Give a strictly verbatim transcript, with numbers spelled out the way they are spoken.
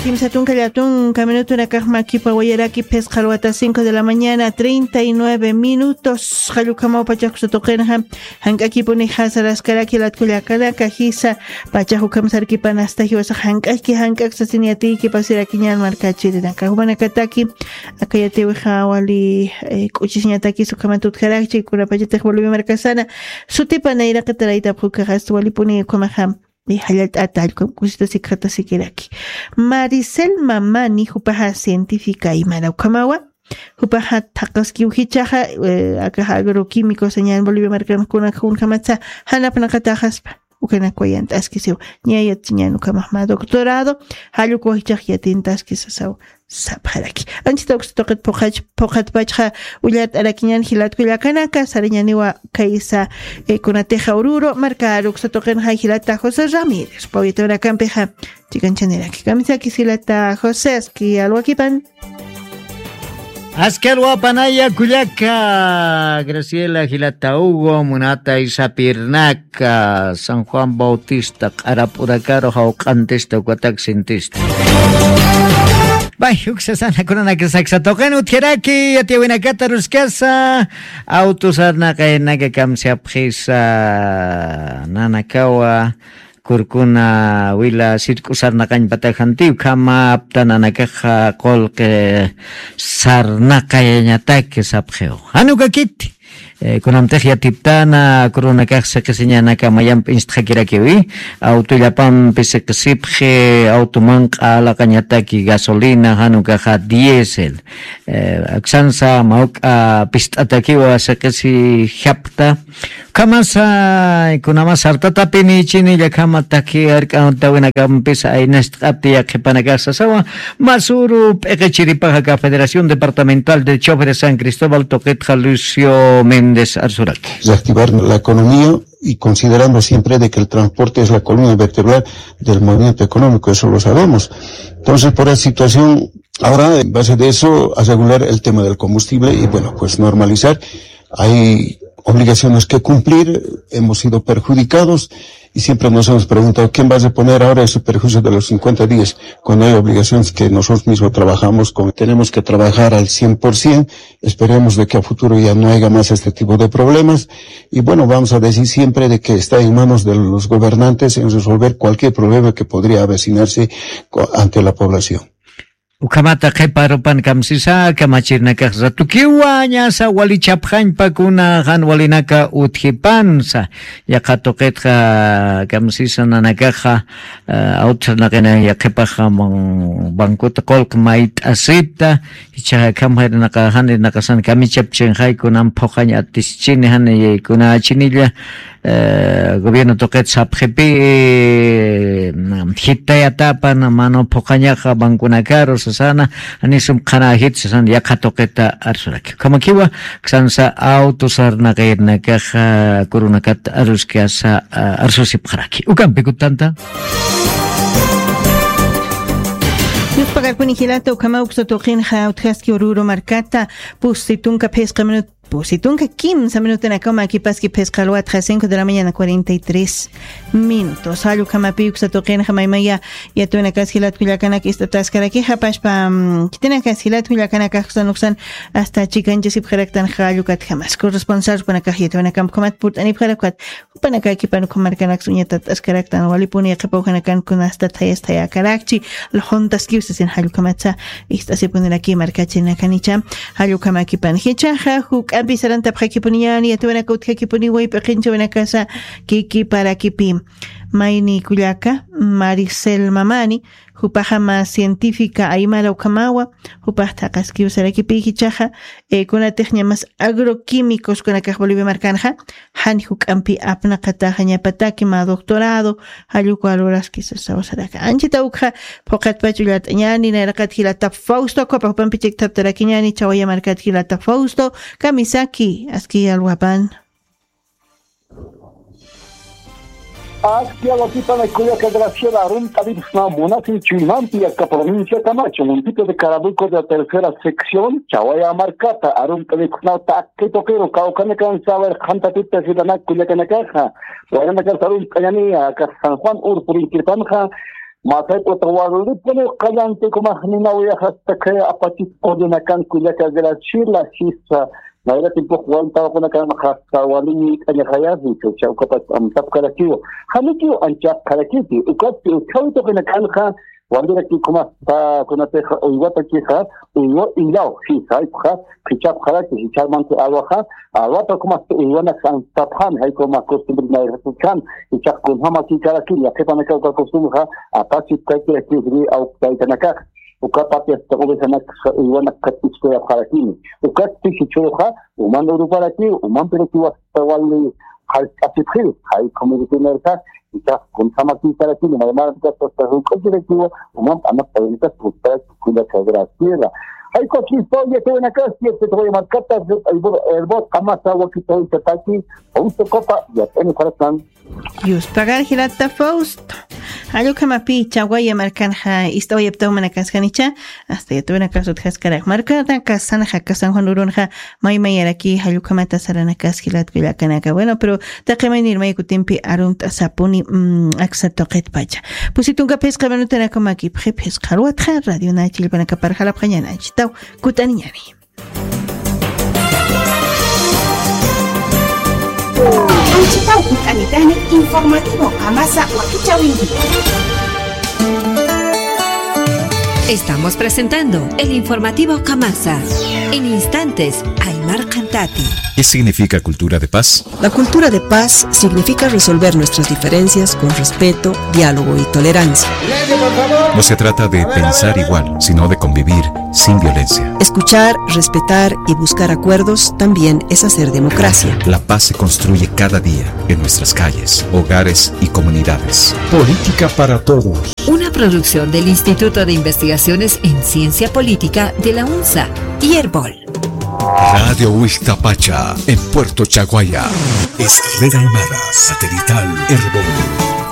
Kimsa tunka llatunka minutunakax makipa wayaraki, phisqa alwata cinco de la mañana, treinta y nueve minutos. Qallukamaw pachax uksa tuqinxa, jank'akipuni jasaraskaraki jilat kullakanaka, jisa pachax ukham sarkipan asta jiwasax jank'aki, jank'ak sasin yatiyki pasirakiñan markachirinaka. Jumanakataki, aka yatiwixa wali, eh, k'uchisiñatakis ukhamat utjarakchi, kunapachatix Bolivia markasana sutipa nayraqataraytapxi ukaxa, asta walipuni ukhamaxa, eh, jallallt'ata, allkam kusita sikxata sikiraki. Maricel Mamani, jupaxa científica aymara ukhamawa, jupaxa thaqaskiw jichhaxa, eh, akaxa agroquímicos sañan Bolivia markan kuna kunjamatsa, janapnaqataxaspa, ukanak wayant'askisiw, ña yatiñan ukhamax mä doctorado, jallukwa jichhax yatintaski sasaw sapxaraki. Anchita uksa tuqit phuqach-, phuqatpachxa ullart'arakiñan jilat kullakanaka, sarañaniwa kaysa, eh, kunatixa Oruro markar uksa tuqinxa jilata José Ramírez, pawiturakampixa chikanchanirakix. Kamisakis jilata José, aski alwakipan. Aski alwapanaya kullaka Graciela, jilata Hugo, munata Isapirnak, San Juan Bautista, q'arap urakaru jawq'antista, ukatak sintista. Bay, uksa sana kunanak saksa tuqin utjaraki, yatiyawinakata aruskasa, auto sarnaqaynaka kamsapxisa, nanakawa, kurkuna wila sirk'u sarnaqañ patajanti, ukhama apta nanakaxa qullqi sarnaqayañataki sapxiw. Jan ukakiti. Eh, kunamtix yatiptana, kurunakax siqisiñanaka mayamp instxakirakiwi, autollapampi siqisipxi, auto manq'a laqañataki gasolina, jan ukaxa diésel. Eh, aksansa mawk'a pist'atakiwa siqisi japta. Ukhamasa, kunamas sartatapini chini llakhama taki ark'antawinakampis aynast'ati yaqhipanakax sasawa, masuru p'iqichiripaxa aka Federación Departamental de Choferes San Cristóbal tuqitxa Lucio Méndez arsuraki. Reactivar la economía y considerando siempre de que el transporte es la columna vertebral del movimiento económico, eso lo sabemos. Entonces, por esa situación, ahora, en base de eso, a regular el tema del combustible y, bueno, pues normalizar. Hay obligaciones que cumplir, hemos sido perjudicados y siempre nos hemos preguntado, ¿quién va a reponer ahora ese perjuicio de los cincuenta días cuando hay obligaciones que nosotros mismos trabajamos con? Tenemos que trabajar al cien por cien, esperemos de que a futuro ya no haya más este tipo de problemas y bueno, vamos a decir siempre de que está en manos de los gobernantes en resolver cualquier problema que podría avecinarse co-, ante la población. Ukhamata qhipa arupan kamsisa, kamachirinakax ratukiwa ñasa walichapxañpa kuna jan walinaka utjipansa. Yaqha tuqitxa kamsisa nanakaxa, eh, auto sarnaqayaña yaqhipaxa ban-, bankuta qullq mayt'asipta, jichhaxa akham jarinaqaxa, jan irinaqasan kamichapchinxay kunan phuqañ atischini jan kunachinilla, eh, gobierno tuqit sapxipi, eh, jitayatapan mano phuqañaxa bankunakaru sasana, janisum qhanäjit sasana yaqha tuqita arsuraki. Ukhamakiwa, aksansa auto sarnaqayarinakaxa kurunakat aruskasa, ah, arsusipxaraki. Ukampi kutanta. Yuspakarpuni jilata, ukhama uksa tuqinxa utjaski Oruro markata, pusi tunka phisqa minut pusi tunka kimsa minutanakaw makipaski phisqa alwatxa cinco de la mañana cuarenta y tres minutos. Jall ukhamapi uksa tuqinxa maymaya yatiyawinakas jilat kullakanaka ist'ataskarakixa pachpa, mm, khitinakas jilat kullakanakax uksan uksan asta chikanchasipxaraktan jall ukatjamas. Corresponsal jupanakax yatiyawinakamp ukhamat purt'anipxarak ukat. Jupanakakipan ukham markanaks uñatat askaraktan walipuni yaqhipa ujanakan kunasta thayas thayakarakchi, lxuntaskiw sasin jall ukhamatsa ist'asipuniraki markachirinakanicha, jall ukhamakipan. Jichhaxa juk'ampi sarantapxakipuniñani, yatiyawinaka utjakipuniwa p'iqinchawinakasa kikiparakipi. Mayni kullaka, Maricel Mamani, jupaxa mä científica aymara ukhamawa, jupax thaqaskiw sarakipï jichhaxa, eh, kunatixña mas agroquímicos kunakax Bolivia markanxa, jan juk'ampi apnaqataxa ñapataki mä doctorado, jall uka luraski sasaw saraka. Anchita ukxa phuqatpach ullart'añani, nayraqat jilata Fausto, ukhapa jupampi chiktaptarakiñani, chawaya markat jilata Fausto, kamisaki, aski alwapan. Aski alwakipan kullaka Graciela, arumt'aripxsnaw munasi chuymampi aka provincia Camacho, municipio de Carabuco de la tercera sección, Chawaya markata, arumt'aripxsnaw taqi tuqiru, kawkhanakan saber qhantatita jilanak kullakanakaxa, waranakax arumt'añani, aka San Juan ur purinkirpanxa, Masay p'uta walipuni qallanti kumax ninawiyax hasta kay apachis qullunakan kullaka Graciela sisa. Nayra tiempo waltawakunakan hasta walini t'añaxayasni, chawcha ukapach amtapkarakiwa. Janikiw anchaqkarakipi, ukatpi utkhawi tuqinakanxa, waliraki kumasta kunatixa uywatakixa, uywa illaw, sisa, aykuxa, phichapxaraki, jichharmanti alwaxa, alwata kumasta uywanak amtapxani, jaykuma costumbre nayrakikan, jichhax kunjamakikarakini, yaqhipanaka uka costumbrexa, apachipkakirakiw jiri awktaykanakax, ukapati hasta ovejanakxa uywanak katiskuyapxarakini, ukatpi jichhüruxa, uman uruparakiw, umampirakiw hasta wali qhallch'asipxiw, jay comeditinarxa, jichhax kunjamakikarakini, maymarankas hasta juk'akirakiwa, uman p'anap payanikas gustaraki kullaka Graciela. Jay coquista, oye, qué buena casa, y este te voy a marcar, herbot, qamasa, wakita, oye, taki, Fausto Copa, ya tengo corazón. Yuspagar jilata Fausto. Jallukamapi Chawaya markanxa ist'awayaptaw manakasjanicha, hasta yatawanakas utjaskarak. Markanakasanxa, kasan Juan Urunxa, maymayaraki jallukhamata saranakas jilat kullakanaka. Bueno, pero taqi maynir may kutimpi arumt'asapuni, mm, aksa tuqitpacha. Pusitunka phisqa minutanakamaki, phisqa ruwatxa, radio na chillpanakapar jalapxañananchitaw, kut'aniñani. Anchitaw kut'anitani informativo Qamasa wakichäwinki. Estamos presentando el informativo Qamasa. En instantes, Aymar Cantati. ¿Qué significa cultura de paz? La cultura de paz significa resolver nuestras diferencias con respeto, diálogo y tolerancia. No se trata de pensar igual, sino de convivir sin violencia. Escuchar, respetar y buscar acuerdos también es hacer democracia. La paz se construye cada día, en nuestras calles, hogares y comunidades. Política para todos. Una producción del Instituto de Investigaciones en Ciencia Política de la UNSA y Erbol. Radio Huixtapacha, en Puerto Chaguaya. Es red aymara satelital Erbol.